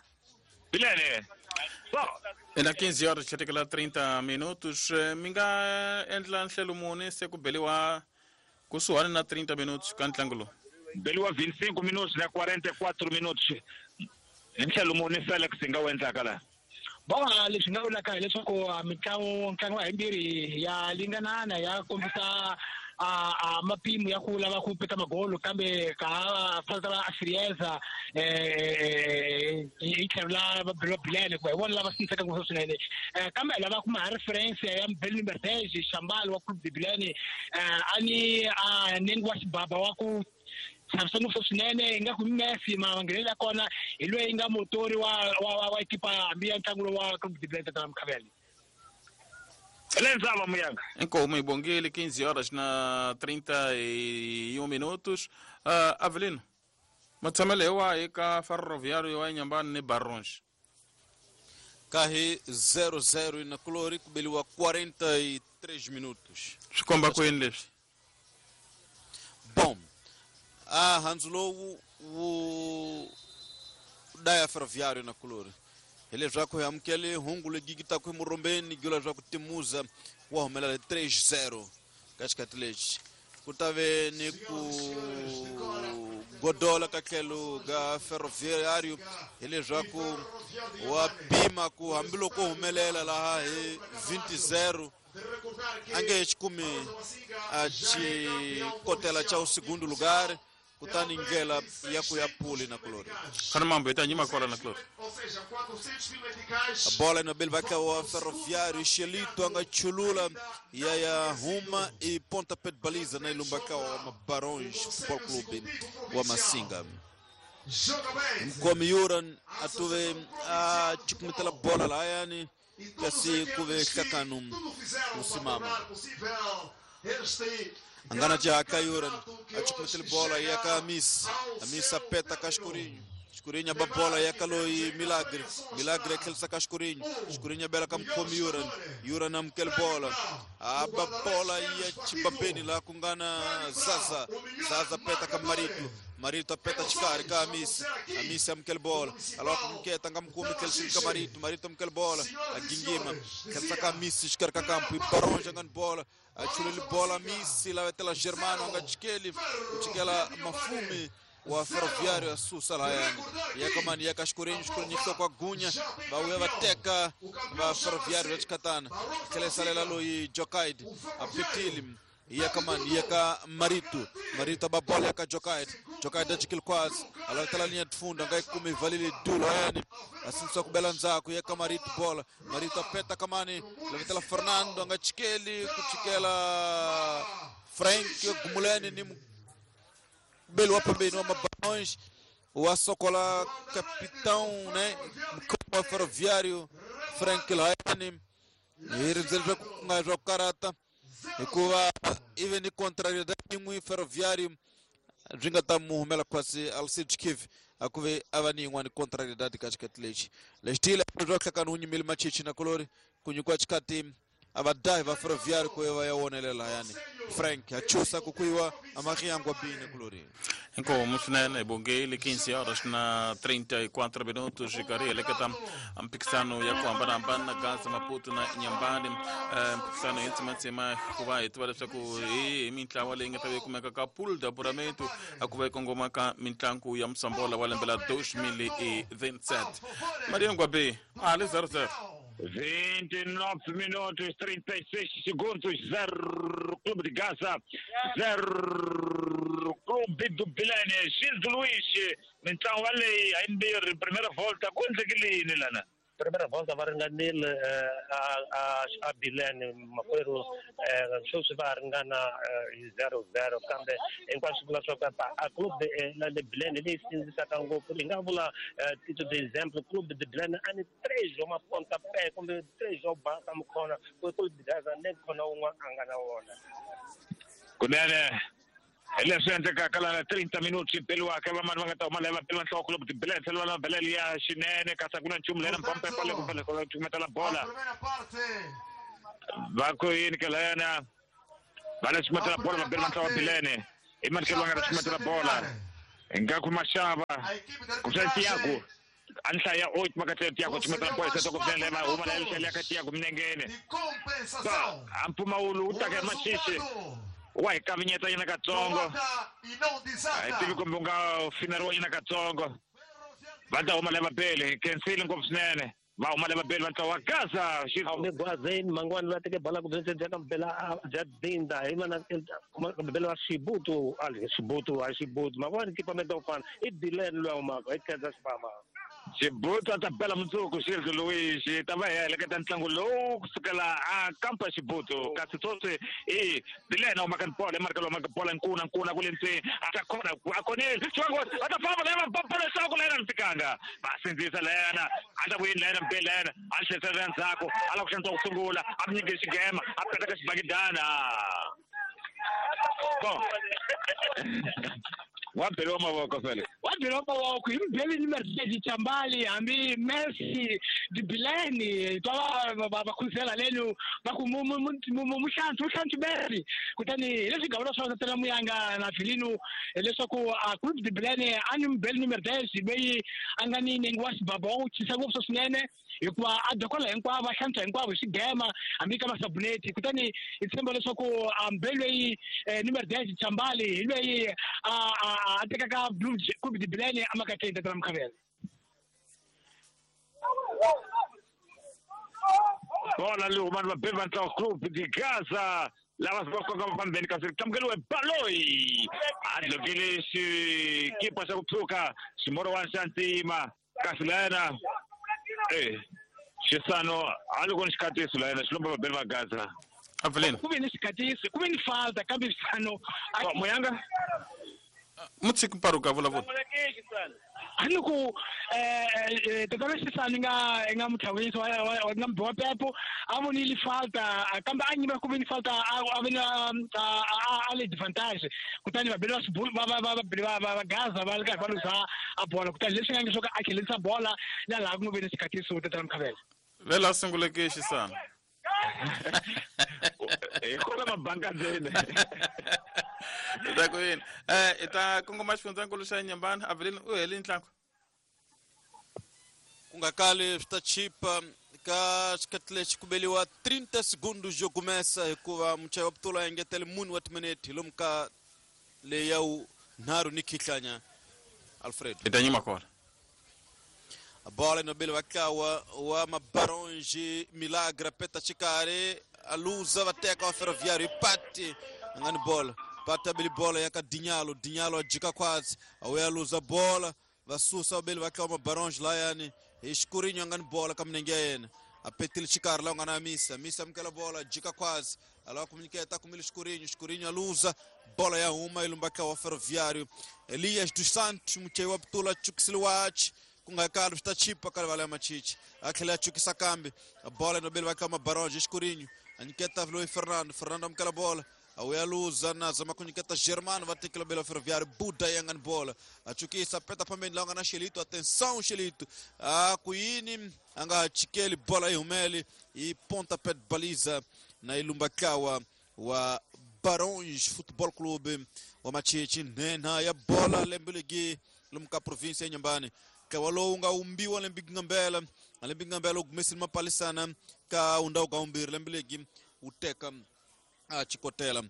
Bilene so Na quinze horas chatekela trinta minutos mi nga endla nhlelo muni se ku beliwa kusuhani na trinta minutos ka ntlangu lowu beliwa vinte e cinco minutos na quarenta e quatro minutos hi nhlelo muni Felix hi nga wu endlaka laha Bon, leswi nga vulaka hileswaku mitlangu ntlangu wa himbirhi ya linganana ya kombisa a a mapimo ya ku lava ku peta magolo kambe ka ha fanele va Frieza eh hi tlhelo la va Bilene ku hi vona lava siniseka ngopfu swinene kambe lava kuma ha reference ya Mbeli Mercedes Shambalo wa Clube de Bilene a ni a nengi wa xibaba wa ku xavisa ngopfu swinene ingaku Messi manghenelo ya kona hi loyi nga motori wa wa wa ekipa hambi ya ntlangu lowu wa Clube de Bilene tata Mkhavele. Lenzava Muyanga. Inkomo ibongile quinze horas na trinta e um minutos. Uh, Avelino, matshamelo wa eka Ferroviário wa Inhambane ni Barões. Carre zero zero na Clori kubeliwa quarenta e três minutos. Swikomba ku yini leswi? Bom, a handzu lowu wu daya Ferroviário na Clori. Hileswaku hi amukele hungu legi gitaku emurombeni gula swa ku timuza wa humelela três zero ka xikhathi lexi ku ta ve ni ku godola ka tlhelo ka Ferroviário hileswaku wa pima ku hambiloko humelela laha hi vinte zero a nge he xi kumi a xikotela xa u segundo lugar kutani ndlela ya ku ya puli na Clori. Khana mambo ita nyima kwala na Clori. A bola no bel vai wa Ferroviário Xelito anga chulula ya ya huma e pontapé de baliza na ilumbaka wa Barões Futebol Clube wa Massinga. Mkomi Yuran atuve a chukumetela bola la yani kasi kuve hlakanu usimama. Angana jaka Yuran achukumetela bola ya ka Amis Amis apeta ka Escurinho Escurinho aba bola ya kaloi Milagre Milagre aquele saca Escurinho Escurinho bela kam komi Yuran Yuran amkel bola aba bola ya chibabeni la kungana Zaza Zaza peta kam Marito Marito apeta chikari ka Amis Amis amkel bola aloka mketa ngam kumi kel ka Marito Marito amkel bola agingima kel saka Amis chikari ka campo e Barões angan bola achulele bola Amis la vetela Germano anga chikeli chikela Mafume wa Ferroviário asusa la yani yakamani yakaskurinho skurinho kwa gunya bauya bateka ba Ferroviário vachikatana kelesalela loyi Jokaid apitili yakamani yaka Marito Marito ba bola yaka Jokaid Jokaid achikil kwaz alatala linha de fundo ngai kumi valile dulo yani asinsa kubela nzako yaka Marito bola Marito apeta kamani lavetela Fernando ngachikeli kuchikela Frank Gumuleni ni belo wa pembeni wa Mabarões wa Sokola capitão, né, como Ferroviário Frank Laine irizele nga zwa karata hikuva ive ni contrariedade yin'we Ferroviário byi nga ta mu humela kwasi Alcide Kiv akuve ava ni yin'wani contrariedade ka xikati lexi lexi tiyile bya hlakani wu nyimile machichi na kolori ku nyikiwa xikati A va dahi va Ferroviário ku va ya wonelela yani Frank a chusa ku kuiwa amahiangwa bine kulori. Inkomu swinene bongeli quinze horas na trinta e quatro minutos xikarhi heleketa mphikisano ya ku hambanahambana Gaza Maputo na Inhambane mphikisano yi tsimatsima ku va hi tiva leswaku hi mintlawa leyi nga ta va yi kumeka ka pool de apuramento a ku va yi kongoma ka mitlangu ya Msambola wa lembe la dois mil e vinte e sete. Maria Ngwabe a le zero zero. vinte e nove minutos, trinta e seis segundos, zero Clube de Gaza, zero Clube do Bilene. Gildo Luiz, então ali a N B R, primeira volta, quanto é que ele lana? Primeira volta va ringanile a a a Bilene makwerhu sweswi va ringana hi zero zero kambe hinkwaswo vula swa ku a club la le Bilene leyi sindzisaka ngopfu hi nga vula tito de exemple Clube de Bilene a ni três wa mapontapé kumbe três wa baka mukhona ku Clube de Gaza ne khona wun'wana a nga na wona. Kunene leswi endlekaka lana trinta minutos beliwaka vamani va nga ta huma lava beliwa nhloko Clube de Bilene tlhela va beleli ya xinene kasi a ku na nchumu lena mpampepa le ku fanele cukumetela bola va ku yini ke layana va le cukumetela bola va beliwa nhloko Bilene i mani ke va nga ta cukumetela bola ingaku maxava kusa Tiago a ni hlaya oito maka Tiago cukumetela bola se ku Bilene va huma la tlhela ka Tiago minengene a mpfumawulo wu taka hi maxixi wa hi kavinyeta yena katsongo a hi tivi kumbe u nga fineriwa yena katsongo va ta huma lava bele kensile ngopfu swinene va huma lava bele va ntlawa wa Gaza. Hambi gwazeni mangwani va teke bola ku bya ka bela bya dinda hi vana bela wa Xibutu a Xibutu a Xibutu mangwani equipamento fana i Bilene loyi a humaka hi khensa xifamba. Xibutu a ta bela mundzuku Gildo Luiz ta va hi heleketa ntlangu lowu kusukela a kampa Xibutu kasi sweswi i Bilene humaka ni bola emarika lowu humaka bola nkuna nkuna ku le ndzeni a ta khona a khonile xivango a ta famba lena bola leswaku lena ni fikanga va sindzisa lena a ta vuyini lena mbele lena a tlherisela ndzhaku a lava ku xantswa ku sungula a mi nyike xigema a peta ka xibakidana bon wa beliwa mavoko fele wa beliwa mavoko hi mubeli ni Mercedes Chambali hambi Messi di Bilene twa va va khuzela lenu va ku muhlantswi muhlantswi Messi kutani hi leswi gavula swa tatela Muyanga na Vilino leswaku a Clube de Bilene a ni mubeli ni Mercedes leyi a nga ni nenge wa xibaba wa ku chisa ngopfu swinene hikuva a dokola hinkwavo a hlantswa hinkwavo hi xigema hambi ka masabuneti kutani hi tshemba leswaku mubeli loyi ni Mercedes Chambali hi loyi a a tekaka Clube de Bilene a makateni tatana Mukhavela. Bola leyi humani vabeli va ntlawa Clube de Gaza lava va koka fambeni kasi tlamukeliwe Baloyi a dlokile xikipa xa ku tshuka ximorowani xa ntima kasi layena eh xisano a loko ni xikatiso layena xi lomba vabeli va Gaza. Avelino ku ve ni xikatiso ku ve ni falta kambe xisano Muyanga mutshiki mparuka vulavula a ni ku tatana Xisani nga nga mutlhawisi wa nga mbiwa pepo a vonile falta kambe a nyima ku ve ni falta a ve na a le advantage kutani vabeli va xibulu va va va va va Gaza va ri karhi va luza a bola kutani leswi nga nge swo ka a khelisa bola na laha ku nga ve ni xikatiso tatana Mukhavela. Vela sunguleke Xisani hi kona mabanga ndzeni ta ku yini eh i ta kongoma xifundzankulu xa Inhambane Avelino u heli ntlangu ku nga kali swi ta chipa ka xikhathi lexi ku beliwa trinta segundos yo kumesa hikuva muchayi wa putula a engetele mune wa timinete hi lomu ka leyi ya wu nharhu ni khihlanya Alfredo i ta nyima kona. A bola no bele vatlawa wa Mabaronge Milagre peta xikarhi a luza va teka wa Ferroviário ipati a nga ni bola pata beli bola ya ka Dinyalo Dinyalo a jika khwatsi a wuya luza bola va susa vabeli va tlawa Mabaronge layani hi Xikurinyo a nga ni bola ka minenge ya yena a petile xikarhi laha u nga na Misa Misa amukela bola jika khwatsi a lava ku nyiketa kumile Xikurinyo Xikurinyo a luza bola ya huma yi lumba tlawa wa Ferroviário Elias dos Santos muchayi wa putula chukisile wachi ku nga kali swi ta chipa ka rivala ya machichi a tlhela a chukisa kambe bola nobeli va tlawa Mabaronge Xikurinyo a nyiketa loyi Fernando Fernando amukela bola a wuya luza na zama ku nyiketa Germano va tekela bela Ferroviário Buda ya nga ni bola a chukisa peta phambeni laha nga na Xelito atenção Xelito a ku yini a nga chikeli bola yi humeli yi ponta pet baliza na ilumba tlawa wa Barões Futebol Clube wa Machichi nhenha ya bola lembe ligi lomu ka province ya Nyambani tlawa lowu nga umbiwa lembe ngambela lembe ngambela u gumesile mapalisana ka undhawu ka umbirhi lembe ligi wu teka a chikotela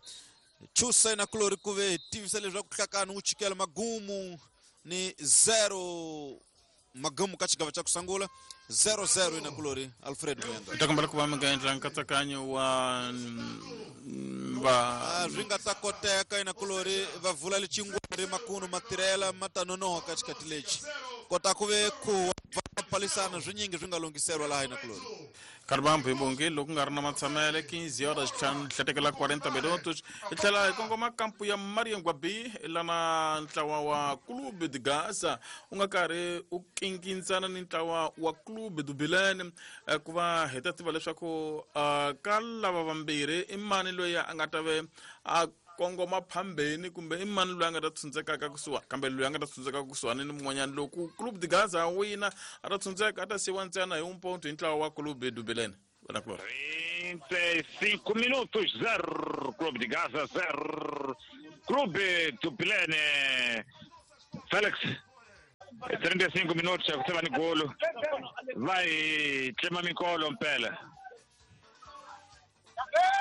chusa na kulori ku ve tivisa leswaku hlakani wu chikela magumu ni zero magumu ka xigava xa ku sungula zero zero ina kulori Alfred Muyanga ta kombela ku va mi nga endla nkatsakanyo wa va swi nga ta koteka ina kulori va vula lecingwari makunu matirhela ma ta nonoha ka xikati lexi kota ku ve ku va palisana swinyingi swi nga lunghiselwa laha ina kulori Karbambo hi loko nga ri na matshamele quinze horas hlatekela quarenta minutos hi tlhela hi kongoma kampu ya Mariangwa B lana ntlawa wa Clube de Gaza u nga karhi u kinkintsana ni ntlawa wa Clube do Bilene ku va hi ta tiva leswaku ka lava vambirhi i mani loyi a nga ta ve a kongoma phambeni kumbe i mani loyi a nga ta tshundzekaka kusuhani kambe loyi a nga ta tshundzekaka kusuhani ni mun'wanyana loko Clube de Gaza wina a ta tshundzeka a ta siyiwa ntsena hi umponto hi ntlawa wa Clube do Bilene wena Kulori trinta e cinco minutos zero Clube de Gaza zero Clube do Bilene Felix trinta e cinco minutos ya ku seva ni golo va hi tlema minkolo mpela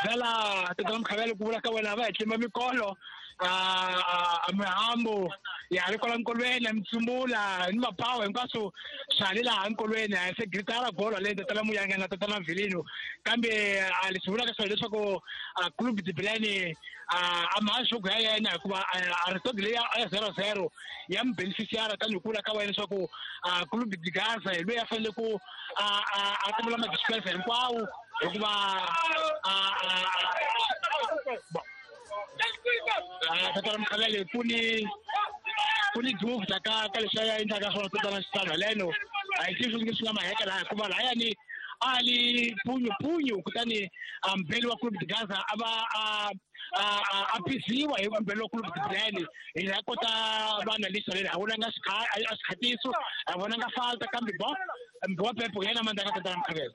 vela tatana Mkhabele ku vula ka wena va hi tlema mikolo a mihambo ya ri kwala nkolweni mitsumbula ni mapawa hinkwaswo swa le laha nkolweni a se gritara bolo leyi tatana Muyanga na tatana Vilino kambe a leswi vulaka swona leswaku Clube de Bilene a mahashuku ya yena hikuva a result leyi ya zero zero ya mu beneficiara tanihi ku vula ka wena leswaku Clube de Gaza hi loyi a fanele ku a a tamela madispensa hinkwawo hikuva tatana Mkhabele ku ni ku ni duvha ka ka leswi a endlaka swona tatana Xitalo leno a hi tivi swi nga maheka laha hikuva lahayani a li punyu punyu kutani mbeli wa Clube de Gaza a va a a phisiwa hi mbeli wa Clube de Bilene hi la kota vana lexi leni a vonanga a xikhatiso a vonanga falta kambe bo wa Pepo yena mandaka tatana Mkhabele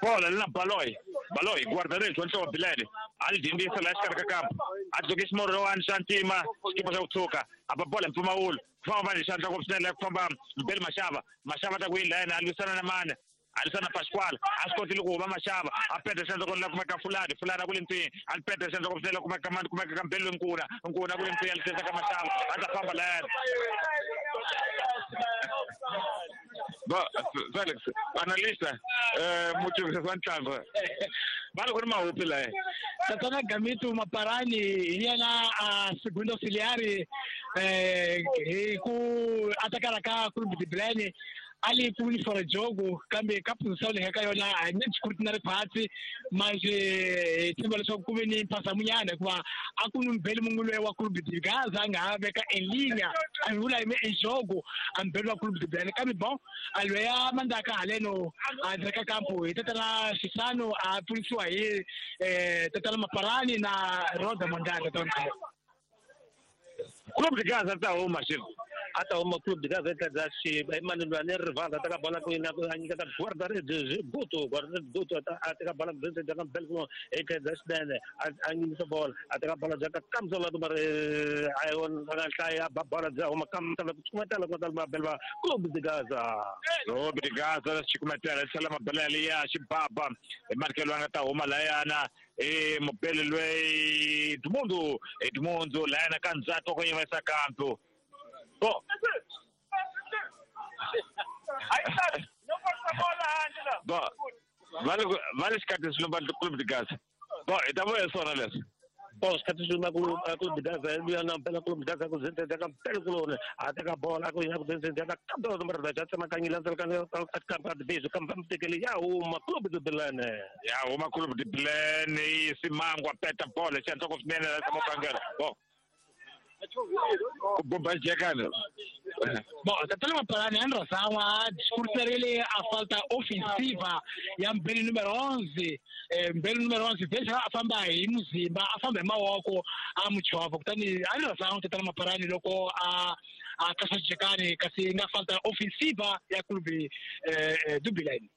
bola lina Baloy Baloy guarda-redes wa ntlawa Bilene a li dyindzisa laha xikarhi ka kampu a dzoke ximorowani xa ntima xikipa xa ku tshuka a ba bola hi mpfumawulo ku famba vanhu xandla ngopfu swinene ku famba Mbeli Mashava Mashava ta ku yini la yena a lwisana na mani a lwisana na Pasquale a swi kotile ku huma Mashava a peta xandla kona la kumeka Fulani Fulani a ku le ntwini a peta xandla ngopfu swinene la kumeka mani kumeka ka Mbeli Nkuna Nkuna a ku le ntwini a lwisana ka Mashava a ta famba la yena Bo, Felix, analista, eh, muchuchisi wa ntlangu va le ku ri mahupi laha tatana Gamito Maparani hi yena a segundo auxiliary eh hi ku atakala ka Clube de Bilene a li ku ni for jogo kambe ka position leyi ka yona a ni scrutiny ri phansi manje hi tshemba leswaku ku ve ni mphasamunyana hikuva a ku ni mbeli munhu loyi wa Clube de Gaza a nga ha veka en linha a vula hi en jogo a mbeli wa Clube de Bilene kambe bon a loyi mandaka haleno a ndzeka kampo hi tatana Xisano a pfunisiwa hi tatana Maparani na Roda Mondaka tatana Clube de Gaza ta huma xi a ta huma Clube de Gaza eka xi mani loyi a ni rivala a teka bola ku yina a nyiketa guarda-redes Guto guarda-redes Guto a teka bola ku bya ka Mbeli kuno eka xinene a nyimisa bola a teka bola bya ka kamsa la mari a yona nga hlaya ba bola bya huma kamsa la ku chumatela ku ta mabele va Clube de Gaza Clube de Gaza xikumatela tlhela mabele liya xibaba hi markelo a nga ta huma layana e mubele loyi Edmundo Edmundo layana ka ndzhaku ku yimisa kampo Bom. Bom, vale vale xikati xilumba Clube de Gaza. Bom, ita vuya swona leswi. Bom, xikati xilumba Clube de Gaza luya na mpela Clube de Gaza ku zentsa ka mpela kuloni a teka bola ku yina ku zentsa ka kambe nomoro da tsema ka nyila ntsela ka ka ka ka kampa mtekele ya huma Clube de Bilene ya huma Clube de Bilene Simangwa peta bola xandla ku swinene la tsama kangela. Bom. Bomba jekana. Bom, tatana Maparani Andra discursarile a falta ofensiva ya mbeli número onze, eh, mbeli número onze veja a famba hi muzimba a famba hi mawoko a muchovha kutani Andra tatana Maparani loko a a kasa jekani kasi nga falta ofensiva ya clube eh, do Bilene.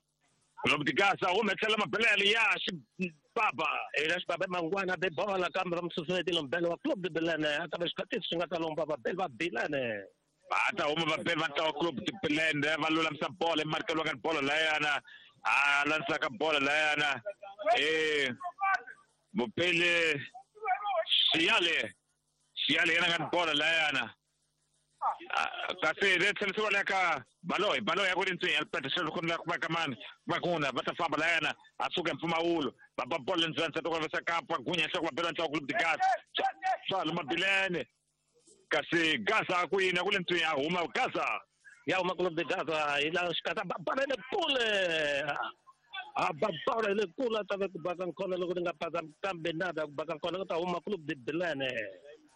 Clube de Gaza huma tlhela mabelele ya Xibaba. Ela Xibaba mangwana be bola kambe va mususumetile mbele wa Clube de Bilene a ta va xikhatisi xi nga ta lomba vabeli va Bilene. Va ta huma vabeli va ntlawa Clube de Bilene va lulamisa bolo emarikelo ka bolo layana a landzaka bolo layana eh mupele Xiyale Xiyale yena nga bolo layana kasi le tlhelisiwa le ka Baloyi Baloyi ya ku ri ntswinya alipeta ku la ku kamani vakuna va ta famba layana a suka mpfumawulo va ba bolo ndzeni ta ku vesa kapa gunya nhloko va bela ntlawa Clube de Gaza swa Mabilene kasi Gaza ku yini ku le ntswinya a huma Gaza ya huma Clube de Gaza hi la xikata ba bala le kule a ba bala le kule ta va ku baka nkona loko ni nga pasa kambe nada ku baka nkona ku ta huma Clube de Bilene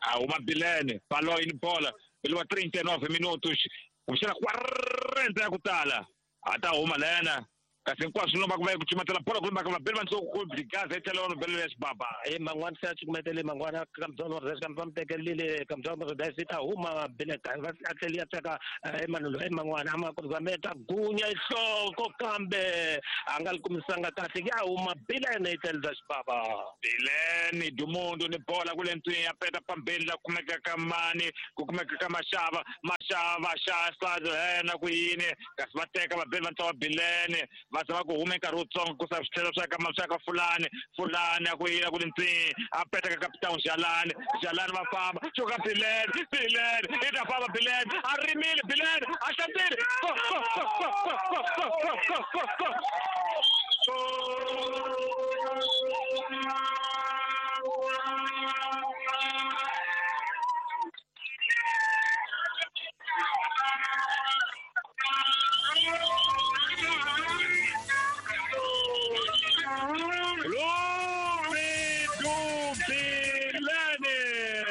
a huma Bilene Baloyi ni bola pelo trinta e nove minutos kumbexana quarenta ya ku tala a ta huma layana kasi hinkwaswo lomba ku va ku cumatela bola kumbe ka vabeli va ntsongo Clube de Gaza yi tlhela va belo ya Xibaba e mangwana se a cukumetele mangwana kambyona res kambe va mu tekelile kambyona res yi ta huma Bilene va a tlheli ya teka Emmanuel e mangwana a ma ku zameta gunya nhloko kambe a nga li kumisanga kahle ya huma Bilene yi tlhela Xibaba. Bilene Dumundo ni bola kule ntswinya ya peta pambeni la kumeka ka mani ku kumeka ka Mashava Mashava xa yena ku yini kasi va teka vabeli va ntlawa Bilene va zama ku huma nkarhi wutsongo ku sa switlhelo swa ka swa ka Fulani Fulani a ku yini a ku ri ntswinya a peta ka Capitão Jalani Jalani va famba xuka Bilene Bilene i ta famba Bilene a rimile Bilene a hlantsile go go go go go go go go go go